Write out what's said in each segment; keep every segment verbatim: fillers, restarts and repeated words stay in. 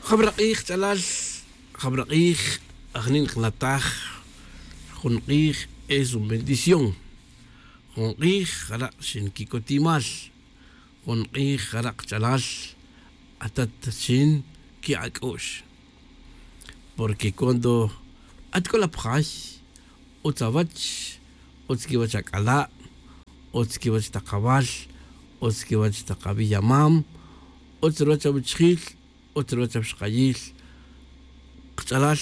Jabara' k'ij kach'alal, jabara' k'ij ajni' nqnataj. Jun k'ij es un bendición. Jun k'ij jara' xinkicotimal. Jun k'ij jara' kach'alal, atat xinki' ak'u'x. Porque cuando at c'o la pjay, utz awach, utz quiwach ac'ala', utz quiwach tak awal, utz quiwach tak awiyamam, utz ruwach awuchjil, utz ruwach awixkayil. Kach'alal,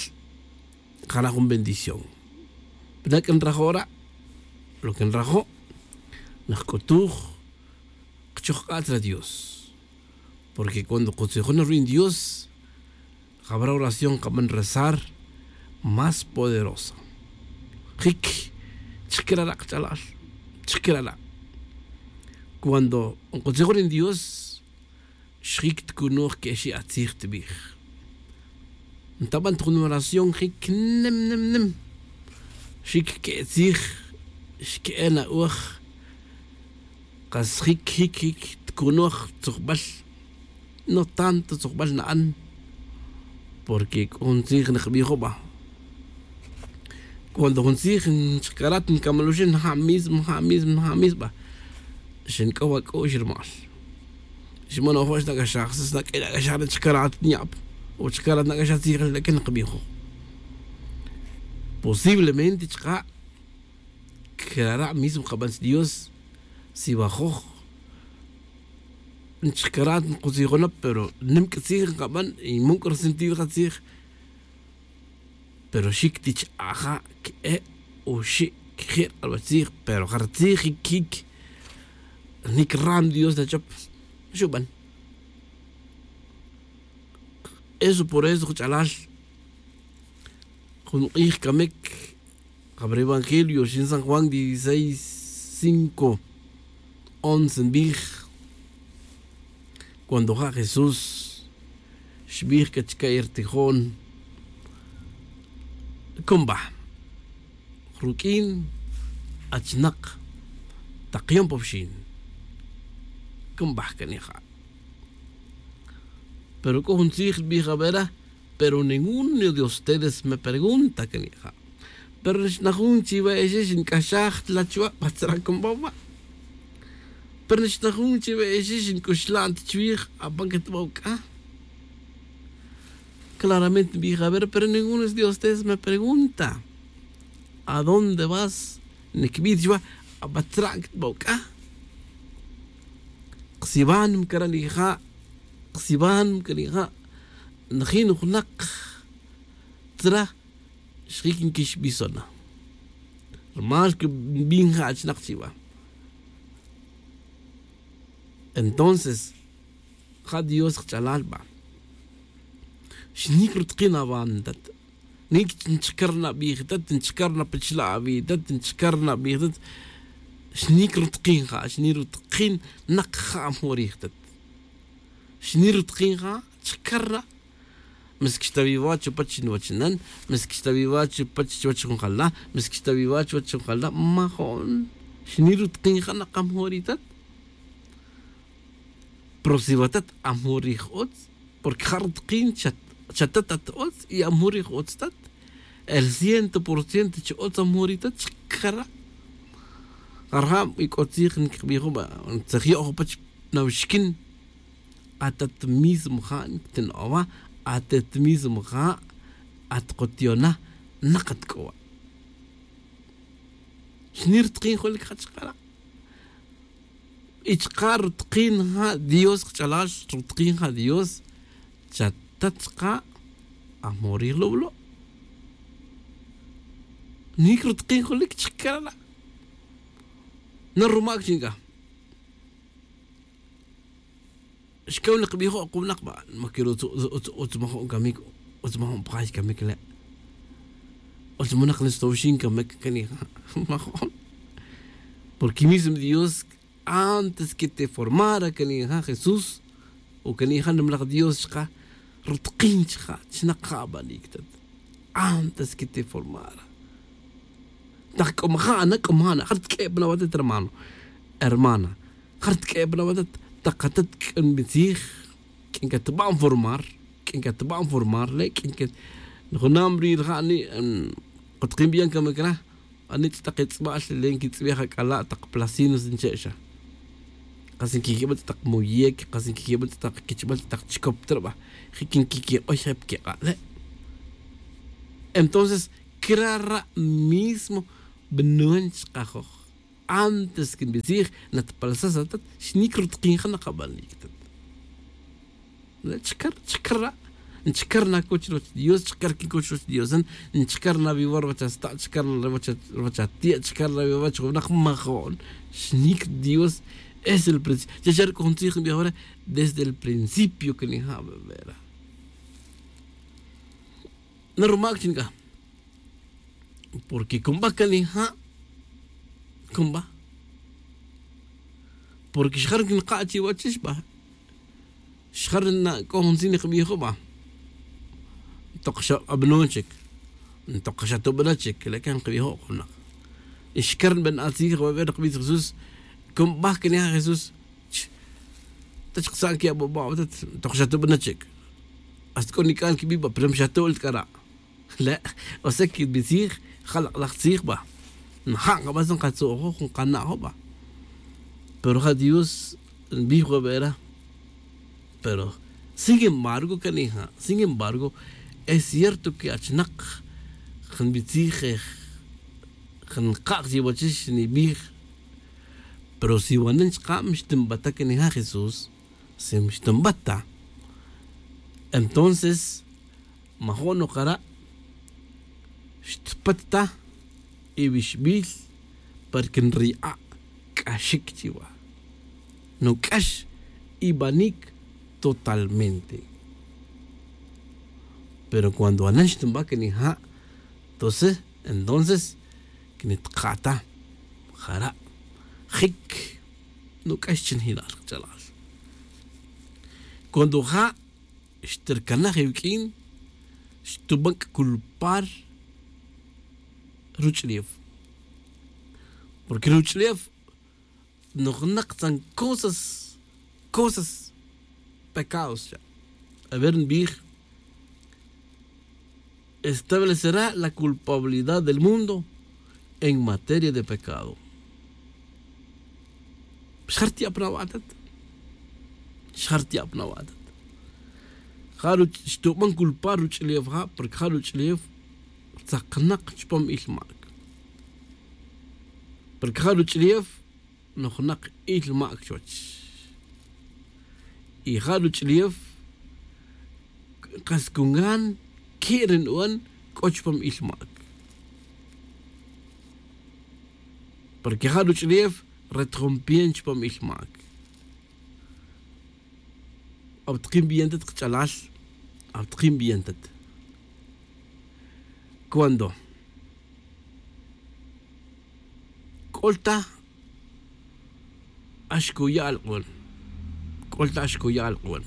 jara' jun bendición. Pe na c'a nrajo' ra'? Lo que nrajo', najc'utuj kchojk'a' chra dios. Porque cuando kutzijon ruin dios, jabara' oración kaban rezar más poderosa. Jic chkera' ra' kach'alal, chkera' ra'. Cuando nkutzijon ruin dios, xjic tcunoj que'xi' atzij tbij. Ntaban ta jun oración jic nim nim nim, xic que'etzij, xque'en a'uj. Kas jic jic jic tcunoj tzujbal. No tanto tzujbal na'an. Porque c'o jun tzij nkbijo' ba, cuando jun tzij nchk'arat ncamal oxin nja' mismo nja' mismo nja' mismo ba. Xinc'ow ac'u'x rumal, xmanojo' xnac'axaj sas naq'uin nac'axaj nchk'arat nyab o chk'arat nac'axaj tzij xlaque nkbijo'. Posiblemente chka' crara' mismo kaban chdios. Si wajoj nchk'arat nkutzijon na pero nim c'a tzij nkaban y man c'o resentido ja tzij. Pero xic ti ch'aja' que'e' oxi' queje' rk'albal tzij pero ja ri tzij jic jic. Nic ram dios nachop xuban. Eso por eso kach'alal, jun k'ij camic. Jabara' evangelio xin san juan dieciséis cinco, once nbij. Cuando ja' jesús xbij c'a chca' i rtijon, cumba ruq'uin achnak tak yom pa wxin. Cumba cani ja'. Pero c'o jun tzij nbij a vera. Pero ninguno de ustedes me pregunta cani ja'. Pero nixnajun chiwe exe xinc'axaj ta la chuwa' pa tzra' cumba wa'. Pero nixnajun chiwe exe xinc'uxlan ta chuwij apan catbaw c'a. Claramente nbij a vera pero ninguno de ustedes me pregunta adónde vas? Nicbij chuwa' apan tzra' catbaw c'a. Ksiwan mcara' nija'. Ksiwan mcara' nija'. Najin junak tzra xjic nquixbison na. Rumal que nbin ja' achinak chiwa. Entonces ja' dios kach'alal ba. Xnic rutkin awan tat. Nic nchcar na bijitat nchcar na pachla' awitat nchcar na bijitat. Xnic rutkin ja' xnic rutkin nak ja' amjorijitat. Xnic rutkin ja' chcar na. Mas quixtawiwa chupach nuwachnan. Mas quixtawiwa chupach chuwach junjalna. Mas quixtawiwa chuwach junjalna majo'n. Xnic rutkin ja' nak amjorijitat. Pero si watat amjorij utz porque ja' rutkin chatat at utz y amjorij utz tat. El ciento por ciento chi utz amjorij tat chkara'. Jarjab y c'o tzij ncbijo' ba tzaj yo'jo' pach nawixquin. Atat mismo ja' nctino'o' wa. Atat mismo ja' at kutiona' nak at c'o wa'. Xni rutkin julic ja' chkara'. Y chka' rutkin ja' dios kach'alal rutkin ja' dios. Chatat chka' ajmorij lublo'. Nic rutkin julic chkara' na rumac chinc'a. Xcaw nak bijo' kunak ba. Maquiro utz majo'n camic. Utz majo'n pjay camic le'. Utz manak nestowxin camic cani ja' majo'n. Porque mismo dios antes que te formara cani ja' jesús o cani ja' nimlaj dios chka' rutkin chka' chnak ja' abanic tat. Antes que te formara tak c'o maja' na c'o maja' na ja' ritq'ue' pa na watat hermano. Hermana ja' ritq'ue' pa na watat. Tak atat q'uin bitzij q'uin catba'n formar. Ncateba'n formar le' q'uin que junam ri' rija' ani' kutakin biyan camic ra. Ani ch'atak etz'ba'l le' nquitz'ibej ac'ala' tak placinos nche' xa. Kas nquiqueba ch'atak moyec, kas nquiqueba ch'atak quichbal ch'atak chicop tre' ba. Jic nquiquik'oy je' pa quik'a' le'. Entonces crara' mismo bnuan chkajoj. Antes que nbitzij natpalsas atat xnic rutakin ja nakabanic tat. Chcar chcar ra'. Chcar na coch roch dios chcar quin coch roch dios. Chcar na vivar vach asta' chcar na vach ati'a chcar na vivach junak majo'n. Xnic dios es el principio. Chacha ri c'o jun tzij nbij wara desde el principio que nija' bebera. Na rumac chi nica porque cumba canija' cumba. Porque xjar quinka' chiwach xba xjar na c'o jun tzij nkabijo' ba. Ntok xa abnon chic ntok xa tubana chic le' can nkabijo' junak. Xcar nbana' tzij jawebe' nkabijo' jesús. Cumba canija' jesús. Tach ksa'n que ababa' atat ntok xa tubana chic. Hasta c'o nic'an quibi' ba pero xa tu'l c'a ra'. Le' o sea que nbitzij ja lak'laj tzij ba. Nja' nkabas nkatzo'jo' nkana'jo' ba. Pero ja dios nbij webera. Pero sin embargo canija' sin embargo es cierto que achnak nbitzij je nkak' chiwachix nibij. Pero si wanan chkab xtinbata canija' jesús si xtinbata. Entonces majo'n nokara' xtpat ta iwixbil para que nri'a' c'axic chiwa. Nuc'ax ibanic totalmente. Pero cuando anan xtinba canija' tonces entonces que nitka'ta jara' jic nuc'ax chinjilal kach'alal. Cuando ja' xtircanaj iwuq'uin xtuban c'a culpar ruch'ulef. Porque ruch'ulef nojnak tzan cosas cosas pecados cha. A ver nbij establecerá la culpabilidad del mundo en materia de pecado. Xjarti'ab na wa'tat xjarti'ab na wa'tat. Ja' xtuban culpar ruch'ulef ja' porque ja' ruch'ulef tzaknak chupam il mac. Porque ja' ruch'ulef nojnak il mac chuwach. Y ja' ruch'ulef kas cungan que' ri nuban c'o chupam il mac. Porque ja' ruch'ulef retjom bien chupam il mac. Abtakin bien tat kach'alal. Abtakin bien tat cuando c'ol ta axcuya' alk'uan. C'ol ta axcuya' alk'uan.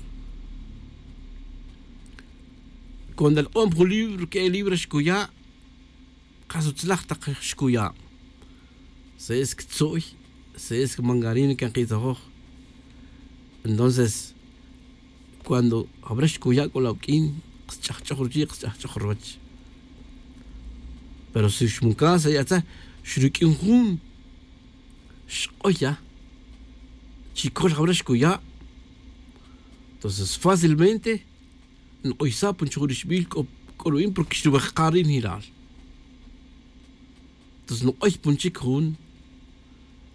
Cuando alk'uan pa jun libro que'e libro axcuya' kas utzlaj tak xcuya'. Se'es ctzu'y se'es mangarina can kitzajoj. Entonces cuando jawra xcuya' c'o la uq'uin ksch'ajch'oj ruchi' ksch'ajch'oj ruwach. Pero si xmucas ayatza xruq'uin jun xk'oy ya chi col jawra xcuya'. Entonces fácilmente nk'oysa' pon chujun rixbil c'o ru'in porque xruwejka' ri' njiral. Entonces nk'oy pon chic jun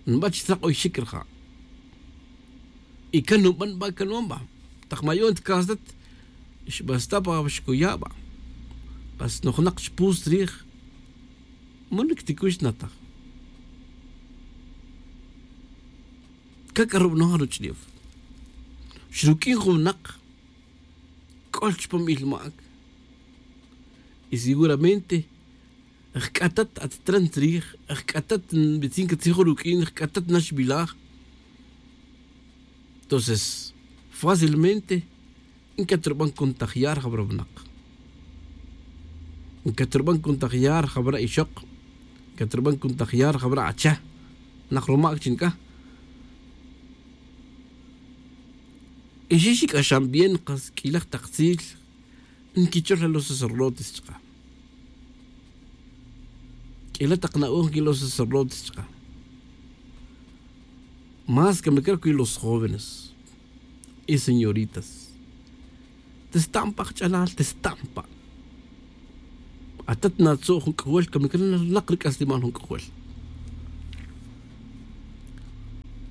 nba chi tzak'oyxic rija'. Y can nuban ba can nuban ba tak mayon ta casa tat xbasta pa xcuya' ba. Kas nojnak chpus rij man nicticux nataj. Cac'a rubanoj ruch'ulef xruq'uin jun winak c'ol chupam il mac. Y seguramente jc'atat at tran tzrij jc'atat nbitzin catzij jun ruq'uin jc'atat naxbilaj. Entonces fácilmente ncaturban contagiar jawra winak. Ncaturban contagiar jawra ixok. Ncaturban contagiar jawra acha. Nak rumac chi nica y xixic'axan bien kas q'uilaj tak tzil. nquichol los sacerdotes chka. Q'uila' tak na'oj nquilow sacerdotes chka. Más que me creo que los jóvenes y señoritas. Testampa' kach'alal, testampa'. Atat natzu' jun k'ojol que me creo nak ric'aslimal jun k'ojol.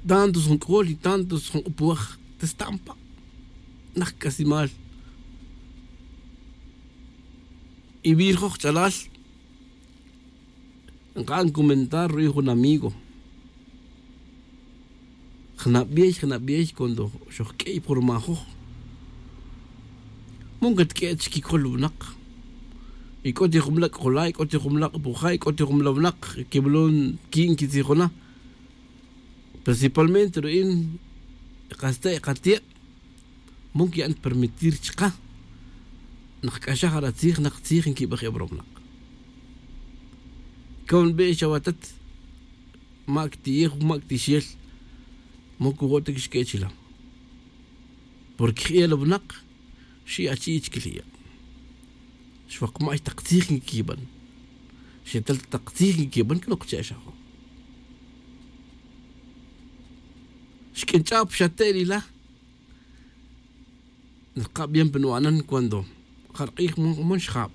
Tantos jun k'ojol y tantos jun k'opoj testampa'. Nak k'aslimal. Y wi rajoj ch'alal nka'an comentar ru'ij jun amigo. Jnabey jnabey cuando xojq'uey pa jun rmajoj, mon catq'ue'et chiquicol winak. Y c'o ti jun mla' c'ojola', y c'o ti jun mla' c'opoja', y c'o ti jun mla' winak quimolon quin quitzijona. Principalmente ru'in kasta' y katie', mon quiya'n permitir chka. Nak c'axaj ara tzij nak tzij nquibaj e bromanak. C'a nbe' chawatat, mac ti'ej mac tixel. Mon cujo' ta quixq'ue' chila'. Porque je'el winak xi' achi'ich quiljiya'. Xwakma' xtak tzij nquiquiban. Xetal tak tzij nquiquiban que no kcha'xajo'. Xq'uinch'a' pa xate'el ila'. Nrka' bien pa nwa'nan cuando ja rk'ij mon xjab.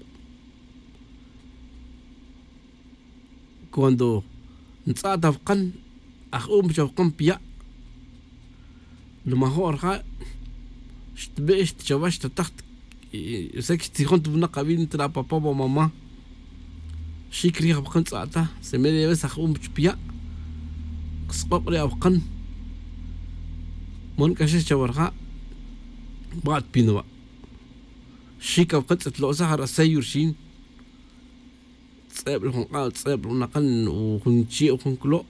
Cuando ntz'a'ta awkan aj-um chawkan piya'. Numajo' rja' xtbe' xtchawa xtataj. Sec xtzijon ta winak awin tra papa wa mama. Xic rij awkan tz'a'ta se media vez aj-um chpiya'. Ksk'ok' re awkan. Mon k'axex chawa rja'. Ba'at pinwa'. Xic awkan tz'etlo'saj ara' seyo rxin. Tz'eb la jun k'ab tz'eb la jun akan o jun chi' o jun clo'.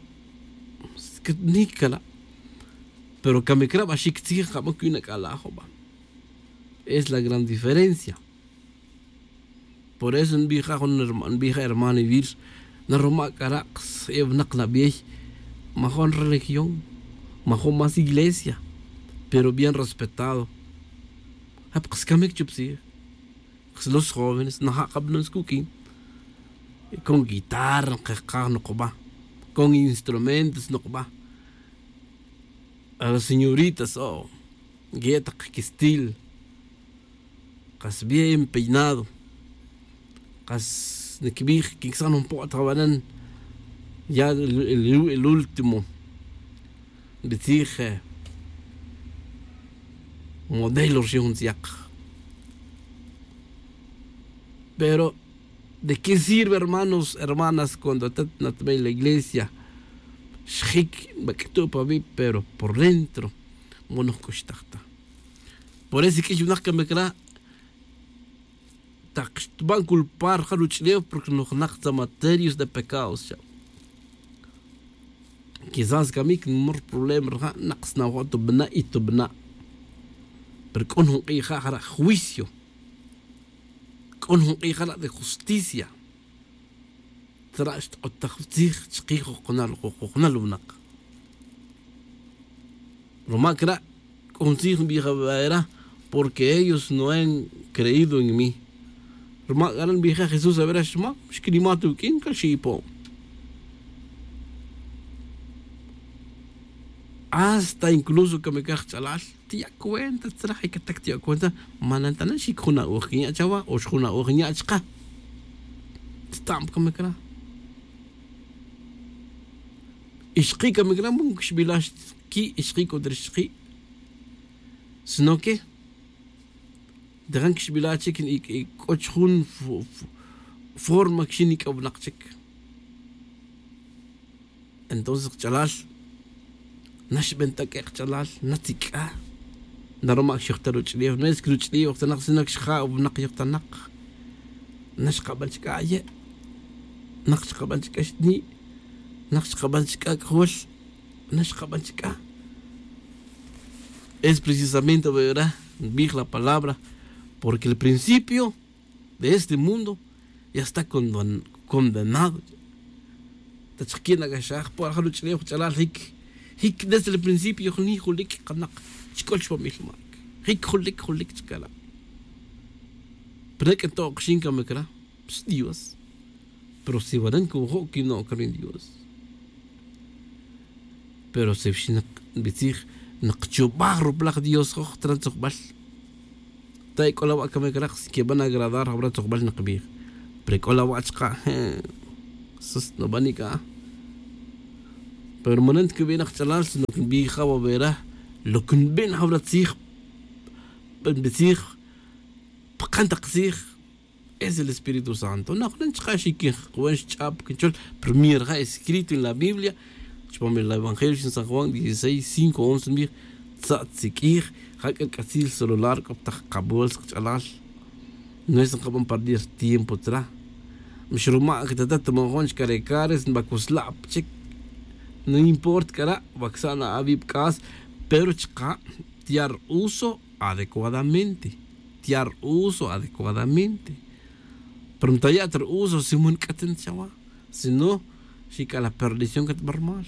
Ni cala'. Pero camic ra ba xic tzij nkaba cuyu' na c'ala' juba'. Es la gran diferencia. Por eso nbija' jun nbija' hermano ivir. Naroma' c'ara' ksa e winak nabey. Majun religión, majun más iglesia, pero bien respetado. Jap ksa camic chup tzij. Los jóvenes naja' kabanon skuq'uin. Con guitarra nkekaj nokoba. Con instrumentos nokoba. A las señoritas o guetak quistil. Kas bien peinado. Kas nikbij quinsan un po'ot jabanan. Ya el último. Bitzij modelo rxijun tziak. Pero de qué sirve hermanos hermanas cuando atat natbey la iglesia? Xjic bac'tu' pa wi' pero por dentro. Monoj c'uxtaj ta. Por eso iq'uix winak camic ra'. Tak xtban culpar ja ruch'ulew porque nojnak tza materios de pecados xa. Quizás camic nmor problema rja' nak sna'ojo' tubana' y tubana'. Pero c'o jun k'ij ja' jara' juicio. C'o jun k'ij jara' de justicia. Tzara' xtk'otaj tzij chkij jujunal jujunal winak. Ruma' cra' c'o jun tzij nbij awera. Porque ellos no han creído en mí. Ruma' c'ara' nbija' jesús awera xma' xquinima' ta uq'uin c'a xi'ipon. Hasta incluso camic ra' jch'alal tiya' cuenta tzra' jicatac tiya' cuenta. Manantana' xic jun na'oj quinya' chawa o xjun na'oj nya' chka. Tztam camic ra'. Ixki' camic ra' mon quixbila' xki' ixki' contra ixki'. Sino que de jan quixbila' chic c'o chijun forma quixin nic'awnak chic. Entonces kach'alal naxben ta q'uek' kach'alal natzic'a. Naroma' xyojta ruch'ulef no es que ruch'ulef yojtanak sino que xja' winak yojtanak. Naxkaban chic'a aye'. Nak xkaban chic'a xni'. Nak xkaban chic'a c'ajol. Naxkaban chic'a. Es precisamente wera nbij la palabra. Porque el principio de este mundo ya está condenado. Ta chik quin ac'axaj por ja ruch'ulef ch'alal jic jic desde el principio jni julic kanak chic'ol chpamil mac jic julic julic chicala'. Pero ec'e to'ok xin camic ra, pues dios. Pero si wanan cojo' quino'c ri dios. Pero si xinak nbitzij, nakchubaj ruplaj dios joj tran tzojbal. Ta ec'o la wa' camic ra si queban agradar jawra tzojbal nakbij. Pero ec'o la wa' chka', sus nabanik a. Pero manan ta cubin ajch'alal sino que nbij ja wa wera, lo que nbin jawra tzij, nbitzij pakan tak tzij. Es el espíritu santo najonan chka' xiquinjk'uan xch'ab quinchol. Pero mira ja escrito en la biblia, chupam el evangelio xin san juan dieciséis cinco once nbij, tza'tziq'uij. Ja c'a c'atzil celular c'o pa tak kabols kach'alal. No es nkaban perdir tiempo tzra. Mixruma' que tata tuman jun chka re cares nba cusla'p chic. No importa c'a ra' wa csa'n awib c'as, pero chka' tiar uso adecuadamente. Tiar uso adecuadamente. Pero ntaya' ta ri uso si man c'atin chawa, sino xic'a la perdición catbarmal.